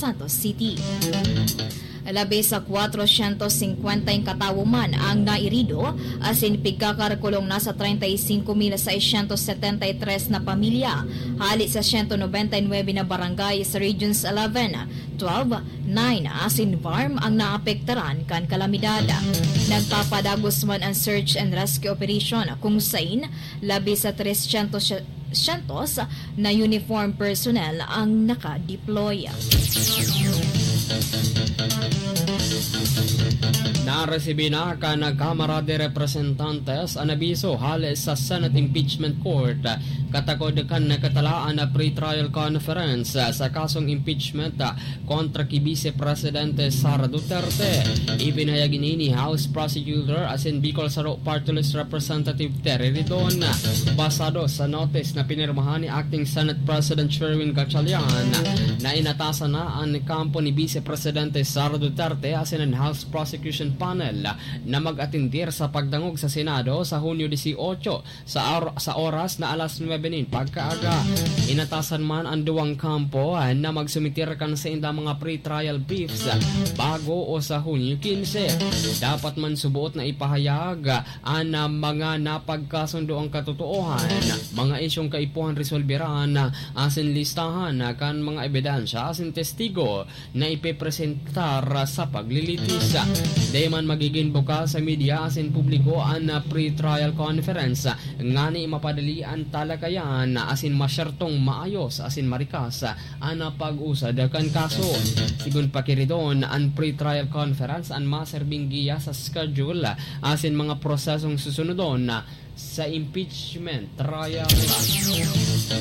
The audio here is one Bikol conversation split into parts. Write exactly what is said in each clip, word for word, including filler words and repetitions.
Santos City. Labi sa kwatrosyentos singkwenta katawo man ang nairido, asin pigkakalkulong nasa treinta y cinco mil seiscientos setenta y tres na pamilya, hali sa siyento nobenta y nuebe na barangay sa Regions eleven, twelve, nine asin VARMM ang naapektaran kan kalamidad. Nagpapadagos man ang search and rescue operation, kung sain labi sa tresyentos syentos na uniform personnel ang naka-deploy. Naresibi na kan Kamara de Representantes an abiso hale sa Senate Impeachment Court katakod kan nakatalaan na pre-trial conference sa kasong impeachment kontra ki Vice Presidente Sara Duterte. Ipinahayag ini ni House Prosecutor asin Bicol Saro Party List Representative Terry Ridon. Basado sa notice na pinirmahan ni Acting Senate President Sherwin Gatchalian, na inatasan na an kampo ni Vice Presidente Sara Duterte asin an House Prosecution Panel na mag-atendir sa pagdangog sa Senado sa Hunyo dieciocho sa or-, sa oras na alas nuebe nin pagkaaga. Inatasan man an duwang kampo, ah, na magsumitir kan saindang mga pre-trial briefs, ah, bago o sa Hunyo quince. Dapat man suboot na ipahayag, ah, an, ah, mga napagkasundoang katotoohan, mga isyong kaipuhan resolberan, ah, asin listahan, ah, kan mga ebidensya asin testigo na ipepresentar sa paglilitis. Dai man magigin bukas sa media asin publiko an pre-trial conference ngani mapadali an talakayan asin masyertong maayos asin marikas an pag-usad kan kaso. Sigon pa ki Ridon, an pre-trial conference an maserbing giya sa schedule asin mga prosesong susunodon sa impeachment trial.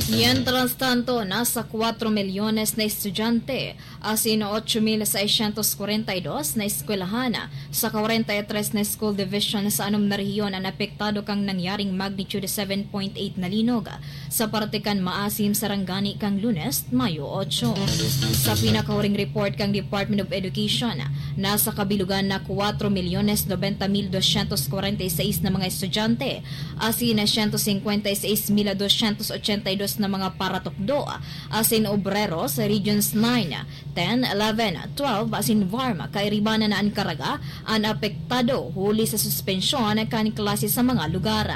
Mientras tanto, nasa kwatro milyones na estudyante asin ocho mil seiscientos kwarenta y dos na eskwelahan sa kwarenta y tres na school division sa anom na rehiyon an apektado kan nangyaring magnitude seven point eight na linog sa parte kan Maasim, Sarangani kan Lunes, Mayo ocho. Sa pinakahuring report kan Department of Education, nasa kabilugan na kwatro milyones nobenta mil dosyentos kwarenta y seis na mga estudyante asin siyento singkwenta y seis mil dosyentos ochenta y dos na mga paratukdo asin obrero sa Regions nine, ten, eleven, twelve asin VARMM kairibanan na an Caraga an apektado huli sa suspensyon kan klase sa mga lugar.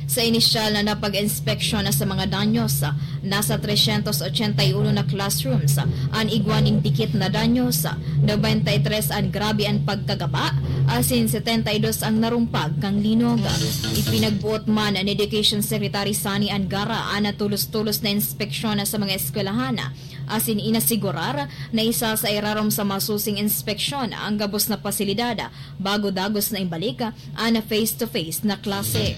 Sa inisyal na napag-inspeksyon sa mga danyos, nasa tresyentos ochenta y uno na classrooms an igwa nin dikit na danyos, nobenta y tres an grabe an pagkagaba, asin setenta y dos ang narumpag kan linog. Ipinagboot man ni Education Secretary Sonny Angara an tulos-tulos na inspeksyon sa mga eskwelahan, asin inasigurar na isa sa irarom sa masusing inspeksyon ang gabos na pasilidad bago dagos na ibalik an face-to-face na klase.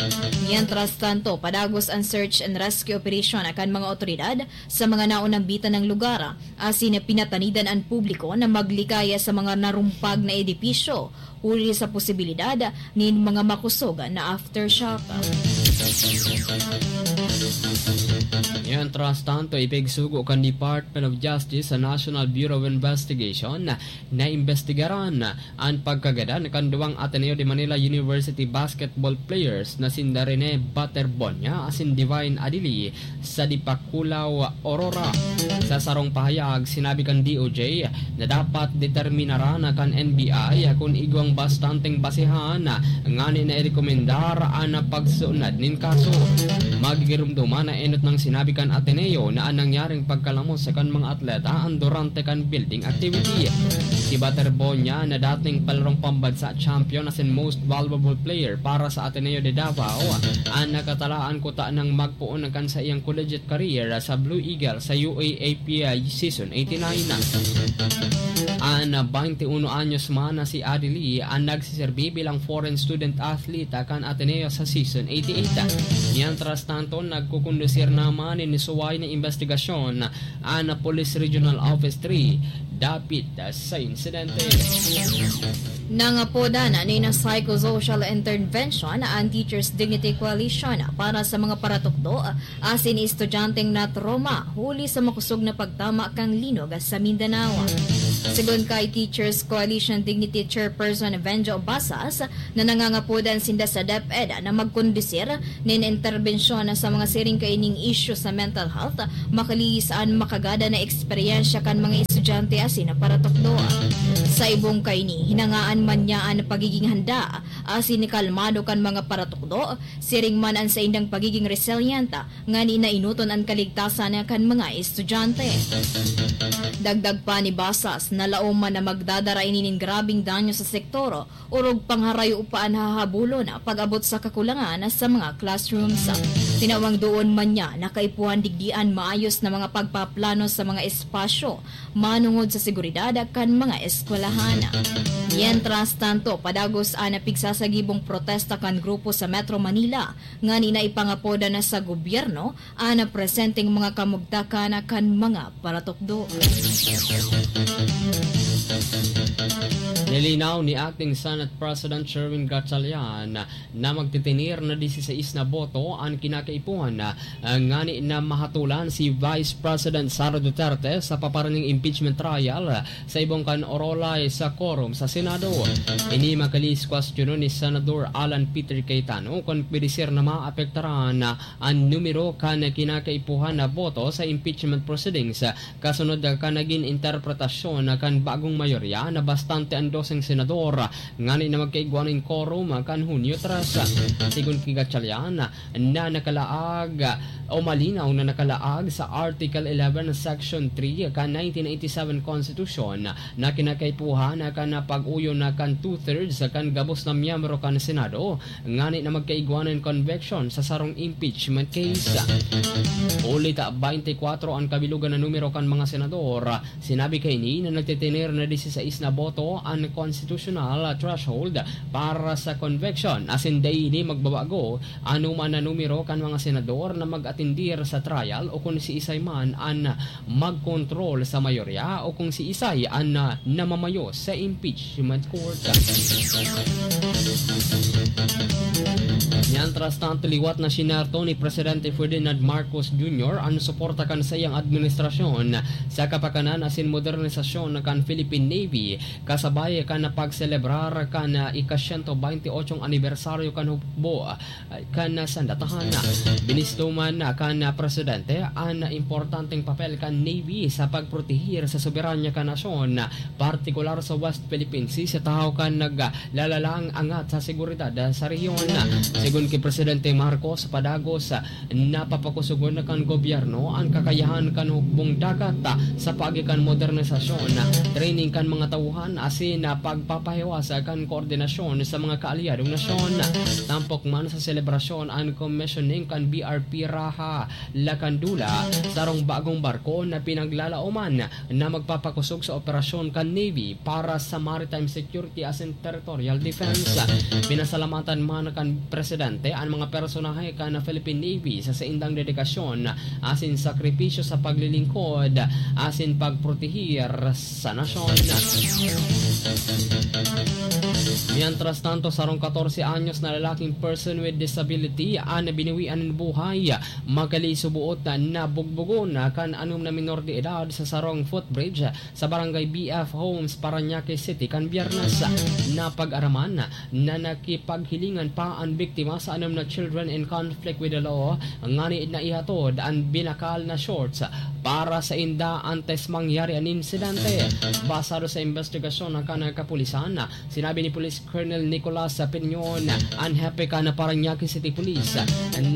Mientras tanto, padagos an search and rescue operation kan mga otoridad sa mga naunambitan na lugar, asin pinatanidan an publiko na maglikay sa mga narumpag na edipisyo huli sa posibilidad nin mga makosog na aftershock. Mientras tanto, ipigsugo kan Department of Justice sa National Bureau of Investigation na imbestigaran an pagkagadan kan duwang Ateneo de Manila University basketball players na sinda Rene Baterbonia asin Divine Adili sa Dipakulaw, Aurora. Sa sarong pahayag, sinabi kan D O J na dapat determinaran na kan N B I kun igwang bastanteng basehan ngani na irekomendar an pagsunad nin kaso. Magigiromdoman na enot nang sinabi kan Ateneo na an nangyaring pagkalamos sa kan mga atleta an durante kan building activity. Si Baterbonia na dating palarong pambansa champion asin most valuable player para sa Ateneo de Davao, an nakatalaan kuta nang magpoon kan saiyang collegiate career sa Blue Eagle sa U A A P season eighty-nine. An twenty-one anyos man na si Adili an nagsiserbi bilang foreign student athlete kan Ateneo sa season eighty-eight. Mientras tanto, nagkukondusir naman nin suway na investigasyon an Police Regional Office three dapit sa insidente. Nangapodan nin psychosocial intervention an Teachers Dignity Coalition para sa mga paratukdo asin estudyanteng natroma huli sa makosog na pagtama kan linog sa Mindanao. Segun kay Teachers Coalition Dignity Chairperson Venjo Basas, na nangangapodan sinda sa DepEd na magkondusir nin interbensyon sa mga siring kaining isyu sa mental health, makalihis an makagadan na eksperyensya kan mga estudyante asin paratukdo. Sa ibong kaini, hinangaan man niya an pagiging handa asin kalmado kan mga paratukdo, siring man an saindang pagiging resilient, ngani na enoton an kaligtasan kan mga estudyante. Dagdag pa ni Basas na laom man na magdadara ini nin grabeng danyo sa sektor, orog pangharayo pa an hahabulon pag-abot sa kakulangan sa mga classrooms. Tinawang doon man niya na kaipuhan digdi an maayos na mga pagpaplano sa mga espasyo manongod sa seguridad kan mga eskwelahan. Mientras tanto, padagos an pigsasagibong protesta kan grupo sa Metro Manila, ngani na ipangapoda na sa gobyerno an presenteng mga kamugtakan kan mga paratukdo. Nilinaw ni Acting Senate President Sherwin Gatchalian na magtitinir na dieciséis na boto an kinakaipuhan, ah, ngani na mahatolan si Vice President Sara Duterte sa paparaning impeachment trial sa ibong kan Orolay sa quorum sa Senado. Ini makalis kwestiyonon ni Senador Alan Peter Cayetano kun pwede ser na maapektaran an numero kan kinakaipuhan na boto sa impeachment proceedings, kasunod kan nagin interpretasyon kan bagong mayorya na bastante an doseng senador ngani na magkaigwa nin quorum kan Hunyo tres. Sigon ki Gatchalian, na nakalaag o malinaw na nakalaag sa Article eleven, Section three kan nineteen eighty-seven Constitution na kinakaipuhan na kan pag-uyon na kan two-thirds kan gabos na miyembro kan Senado ngani na magkaigwa nin conviction sa sarong impeachment case. Huli ta twenty-four an kabilogan na numero kan mga senador. Sinabi kaini na nagtitener na dieciséis na boto an constitutional threshold para sa conviction, asin dai ini magbabago anoman na numero kan mga senador na mag-atendir sa trial o kun siisay man an magkontrol sa mayorya o kung siisay an, ah, namamayo sa impeachment court. Mientras tanto, liwat na sinerto ni Presidente Ferdinand Marcos Junior an suporta kan saiyang administrasyon sa kapakanan asin modernisasyon kan Philippine Navy, kasabay kan pagselebrar kan, ah, ika-siyento baynte otsong anibersaryo kan hukbo kan sandatahan. Binisto man kan presidente an importanteng papel kan Navy sa pagproteher sa soberanya kan nasyon, partikular sa West Philippine Sea, sa tahaw kan naglalalang angat sa seguridad sa rehiyon. Sigon ki Presidente Marcos, padagos napapakusogon kan gobyerno an kakayahan kan hukbong dagat sa paagi kan modernisasyon, training kan mga tauhan asin pagpapahiwas kan koordinasyon sa mga kaalyadong nasyon. Tampok man sa selebrasyon an commissioning kan B R P Raha Lacandula, sarong bagong barko na pinaglalaoman na magpapakosog sa operasyon kan Navy para sa maritime security asin territorial defense. Pinasalamatan man kan presidente an mga personahe kan Philippine Navy sa saindang dedikasyon asin sakripisyo sa paglilingkod asin pagproteher sa nasyon. Mientras tanto, sarong katorse anyos na lalaking person with disability an binawian nin buhay, makali suboot na nabugbugon kan anom na minor de edad sa sarong footbridge sa Barangay B F Homes, Parañaque City, kan Biyernes. Napag-araman na nakipaghilingan pa an biktima sa anom na children in conflict with the law, ngani na ihatod an binakal na shorts para sa inda antes mangyari an insidente. Basado sa investigasyon kan kapulisan, sinabi ni Police Colonel Nicolas Piñon, an hepe kan Parañaque City Police,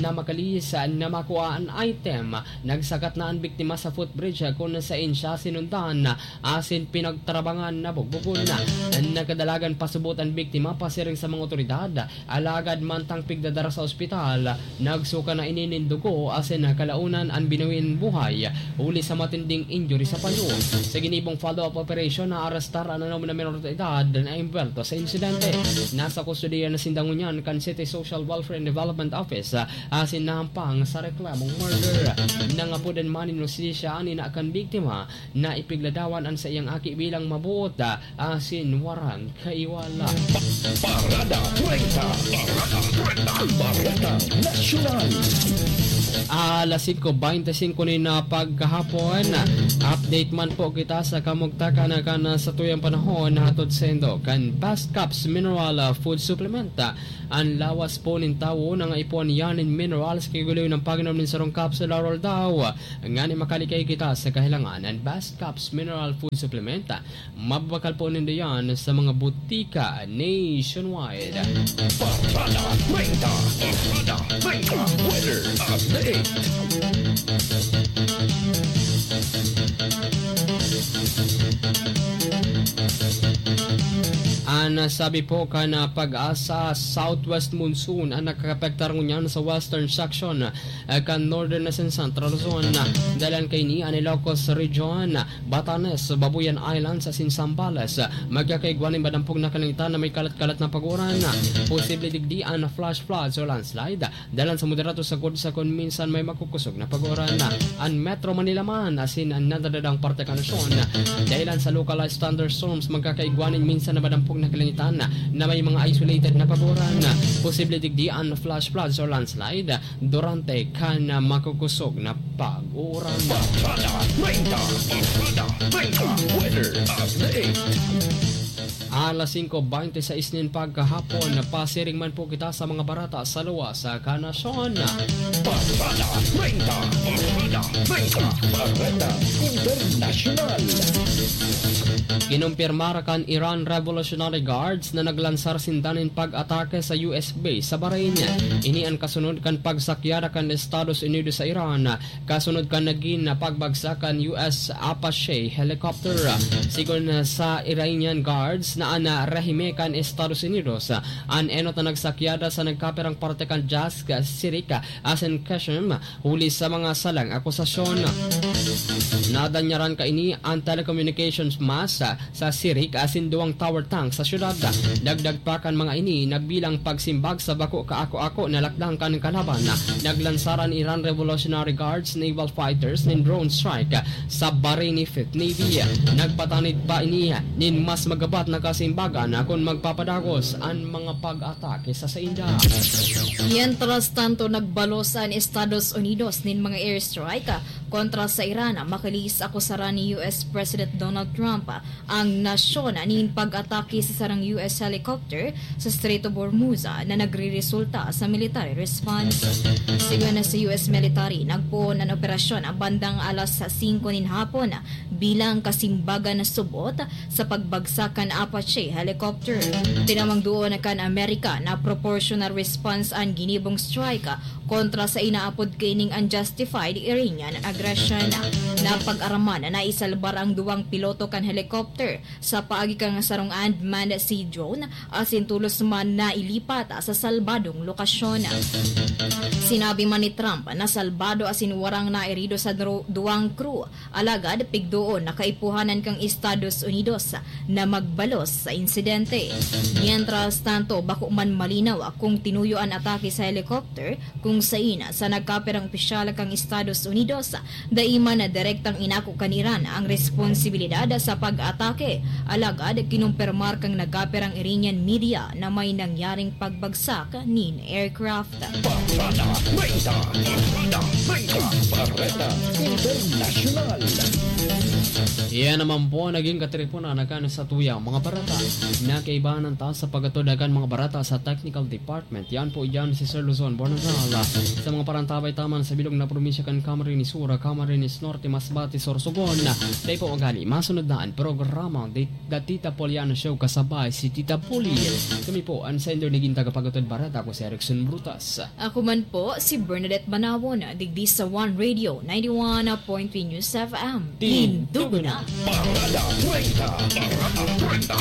na makalis na makua an item. Nagsakat na an biktima sa footbridge kun saen siya sinundan asin pinagtarabangan na bugbugon. Nagkadalagan pasubot an biktima pasiring sa mga otoridad, alagad mantang pigdadara sa ospital, nagsuka na ini nin dugo asin kalaonan an binawi nin buhay huli sa matinding injury sa payo. Sa ginibong follow-up operation, naarestar an anom na menor de edad na imbwelto sa insidente. Nasa kustodiya na sinda ngunyan kan City Social Welfare and Development Office asin nahampang sa reklamong murder. Nangapodan man nin hustisya an ina kan biktima na ipigladawan an saiyang aki bilang mabuot asin warang kaiwala. Parada treinta. Parada treinta. Baretang Nasyonal. Alas singko beintisinko nin, ah, pagkahapon. Update man po kita sa kamugtakan na kan, ah, satuyang panahon na hatod saindo kan Best Caps Mineral, ah, Food Supplement. Ah, an lawas po nin tawo nangaipuhan iyan nin minerals, kiguloy ng pag-inom nin sarong capsule aroaldaw, ngani makalikay kita sa kahilangan. An Best Caps Mineral Food Supplement, ah, mababakal po nindo yan sa mga butika nationwide. Parada treinta, Parada treinta, weather update. An sabi po kan, ah, PAGASA, southwest monsoon an nakakapektar ngunyan sa western section, ah, kan northern na Central Luzon. Dalan kaini an Ilocos Region, Batanes, Babuyan Islands asin Zambales. Magkakaigwa nin madampog na kalangitan na may kalat-kalat na pag-uran. Posible digdi an flash floods o landslide. Dalan sa moderato sagkod sa kun minsan may makukusog na pag-uran. An Metro Manila man asin an nadadadang parte kan nasyon, dahilan sa localized thunderstorms, magkakaigwa nin minsan na madampog na kalangitan na may mga isolated na pag-uran. Posible digdi an flash floods or landslide durante kan makukusog na pag-uran. Parada treinta, Parada treinta, weather update. Alas singko beintiseis nin pagkahapon, pasiring man po kita sa mga barata sa luwas kan nasyon. Parada treinta, Parada treinta, Bareta Internasyonal. Kinumpirmar kan Iran Revolutionary Guards na naglansar sinda nin pag-atake sa U S base sa Bahrain. Ini an kasunod kan pagsakyada kan Estados Unidos sa Iran, kasunod kan nagin na pagbagsak kan U S Apache helicopter. Sigon sa Iranian Guards na an rehime kan Estados Unidos, an enot na nagsakyada sa nagkapirang parte kan Jask, Sirik, asin Qeshm, huli sa mga salang akusasyon. Nadanyaran kaini an telecommunications mast sa Sirik asin duwang tower tank sa syudad. Dagdag pa kan mga ini, nagbilang pagsimbag sa bako kaako-ako na lakdang kan kalaban. Naglansar an Iran Revolutionary Guards naval fighters nin drone strike sa Bahraini Fifth Navy. Nagpatanid pa ini nin mas magabat na kasimbagan kun magpapadagos an mga pag-atake sa sainda. Mientras tanto, nagbalos an Estados Unidos nin mga airstrike kontra sa Iran, makalihis akusaran ni U S President Donald Trump ang nasyon nin pag-atake sa sarong U S helicopter sa Strait of Hormuz na nagreresulta sa military response. Sigon sa U S military, nagpoon an operasyon bandang alas singko nin hapon bilang kasimbagan na subot sa pagbagsak kan Apache helicopter. Tinawang duon kan Amerika na proportional response an ginibong strike kontra sa inaapod kaining unjustified Iranian aggression. Napag-araman na naisalbar ang duwang piloto kan helicopter sa paagi kan sarong unmanned sea drone, asin tolos man nailipat sa salbadong lokasyon. Sinabi man ni Trump na salbado asin warang nairido sa dro-, duwang crew, alagad pigdoon na kaipuhanan kan Estados Unidos na magbalos sa insidente. Mientras tanto, bako man malinaw kung tinuyo an atake sa helicopter, kung sain sa nagkapirang opisyal kan Estados Unidos. Dai man direktang inako kan Iran ang responsibilidad sa pag-atake, alagad kinumpirmar kan nagkapirang Iranian media na may nangyaring pagbagsak nin aircraft. Parada treinta, Parada treinta, Bareta Internasyonal. Iyan naman po naging katiripunan na kan satuyang mga barata. Nakaibahan ta sa pagkatudagan mga barata sa technical department. Yan po, yan si Sir Luzon Bonanzal. Sa mga parantabay taman sa bilog na probinsya kan Camarines Sur, Camarines Norte, Masbate, Sorsogon. Dai po magali, masunod na ang programa, The, The Tita Poliana Show, kasabay si Tita Poli. Kami po, ang sender ni Gintaga Pagutod Barata, ako si Erickson Brutas. Ako man po, si Bernadette Manawon, digdi sa One Radio, ninety-one point three News F M. Tindugo na. Parada treinta. Parada treinta.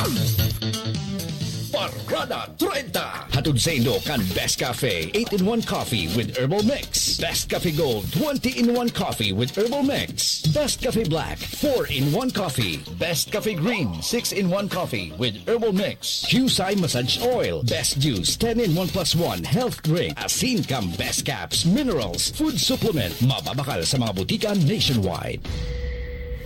Parada treinta. Hatod saindo kan Best Cafe, eight-in-one Coffee with Herbal Mix. Best Cafe Gold, twenty-in-one Coffee with Herbal Mix. Best Cafe Black, four-in-one Coffee. Best Cafe Green, six-in-one Coffee with Herbal Mix. Qcye Massage Oil, Best Juice, ten-in-one plus one Health Drink. Asin kan Best Caps, Minerals, Food Supplement. Mababakal sa mga butika nationwide.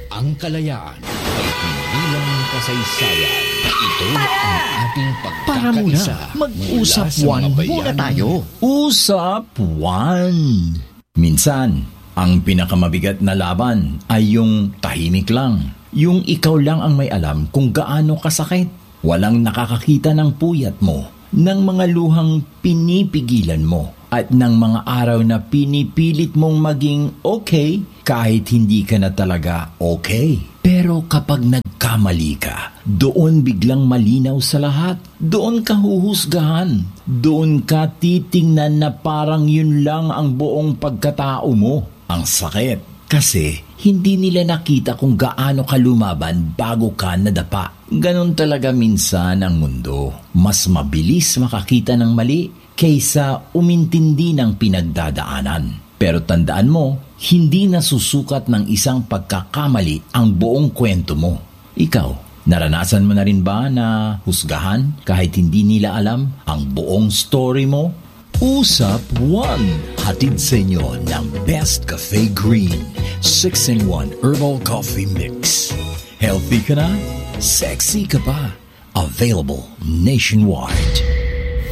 Ang kalayaan ay hindi lang kasaysayan. Ito ang ating pagkakaisa. Para muna, mag-usap one muna tayo. Usap one. Minsan, ang pinakamabigat na laban ay yung tahimik lang. Yung ikaw lang ang may alam kung gaano kasakit. Walang nakakakita ng puyat mo, ng mga luhang pinipigilan mo, at ng mga araw na pinipilit mong maging okay kahit hindi ka na talaga okay. Pero kapag nagkamali ka, doon biglang malinaw sa lahat. Doon ka huhusgahan. Doon ka titingnan na parang yun lang ang buong pagkatao mo. Ang sakit. Kasi hindi nila nakita kung gaano ka lumaban bago ka nadapa. Ganon talaga minsan ang mundo. Mas mabilis makakita ng mali kaysa umintindi ng pinagdadaanan. Pero tandaan mo, hindi nasusukat ng isang pagkakamali ang buong kwento mo. Ikaw, naranasan mo na rin ba na husgahan kahit hindi nila alam ang buong story mo? Usap One, hatid sa inyo ng Best Cafe Green, six-in-one Herbal Coffee Mix. Healthy ka na, sexy ka pa. Available nationwide.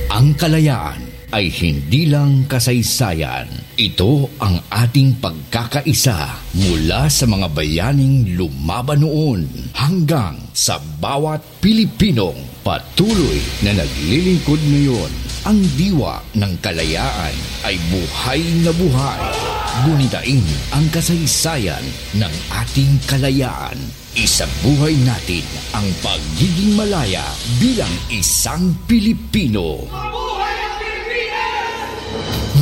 Ang kalayaan ay hindi lang kasaysayan. Ito ang ating pagkakaisa mula sa mga bayaning lumaban noon hanggang sa bawat Pilipinong patuloy na naglilingkod ngayon. Ang diwa ng kalayaan ay buhay na buhay. Gunitain ang kasaysayan ng ating kalayaan. Isabuhay natin ang pagiging malaya bilang isang Pilipino.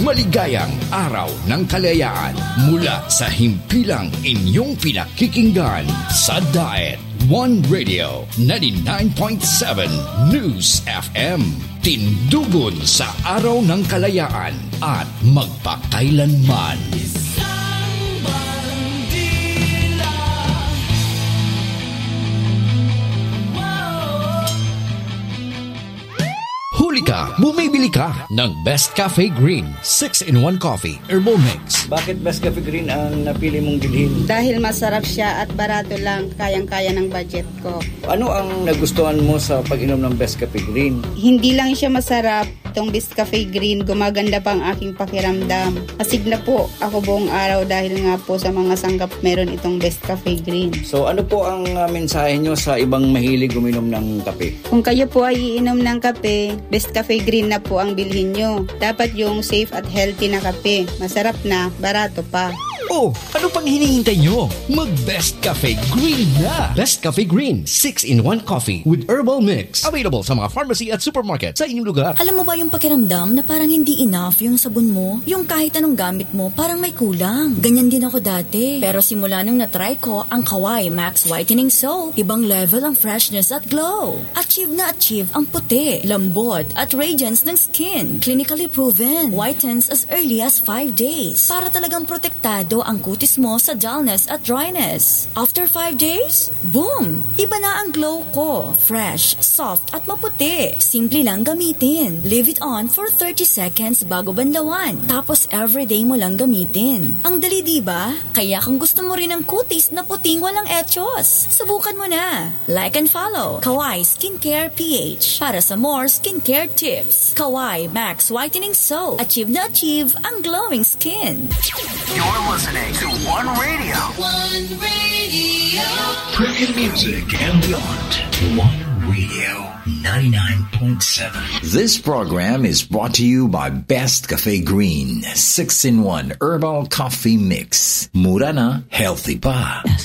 Maligayang Araw ng Kalayaan mula sa himpilang inyong pinakikinggan sa Diet One Radio ninety-nine point seven News F M. Tindugon sa Araw ng Kalayaan at magpakailanman. Isang bandila. Wow. Huli ka, bumibili ka ng Best Cafe Green six-in-one Coffee Herbal Mix. Bakit Best Cafe Green ang napili mong bilhin? Dahil masarap siya at barato lang, kayang-kaya ng budget ko. Ano ang nagustuhan mo sa pag-inom ng Best Cafe Green? Hindi lang siya masarap, itong Best Cafe Green, gumaganda pa ang aking pakiramdam. Astig na po ako buong araw dahil nga po sa mga sangkap meron itong Best Cafe Green. So, ano po ang, ah, mensahe nyo sa ibang mahilig uminom ng kape? Kung kayo po ay iinom ng kape, Best Cafe Green na po ang bilhin nyo. Dapat yung safe at healthy na kape. Masarap na, barato pa. Oh, ano pang hinihintay nyo? Mag Best Cafe Green na! Best Cafe Green, six-in-one coffee with herbal mix. Available sa mga pharmacy at supermarket sa inyong lugar. Alam mo ba yung pakiramdam na parang hindi enough yung sabon mo? Yung kahit anong gamit mo, parang may kulang. Ganyan din ako dati. Pero simula nung na-try ko ang Kawai Max Whitening Soap, ibang level ang freshness at glow. Achieve na achieve ang puti, lambot, at radiance ng skin. Clinically proven. Whitens as early as five days. Para talagang protektado ang kutis mo sa dullness at dryness. After five days, boom! Iba na ang glow ko. Fresh, soft, at maputi. Simple lang gamitin. Leave it on for thirty seconds bago banlawan. Tapos everyday mo lang gamitin. Ang dali, di ba? Kaya kung gusto mo rin ang kutis na puting walang echos, subukan mo na. Like and follow Kawai Skincare P H para sa more skincare tips. Kawai Max Whitening Soap. Achieve na achieve ang glowing skin. You're listening to One Radio. One Radio. Premium music and beyond. One Radio ninety-nine point seven. This program is brought to you by Best Cafe Green six-in-one Herbal Coffee Mix. Mura na, healthy pa.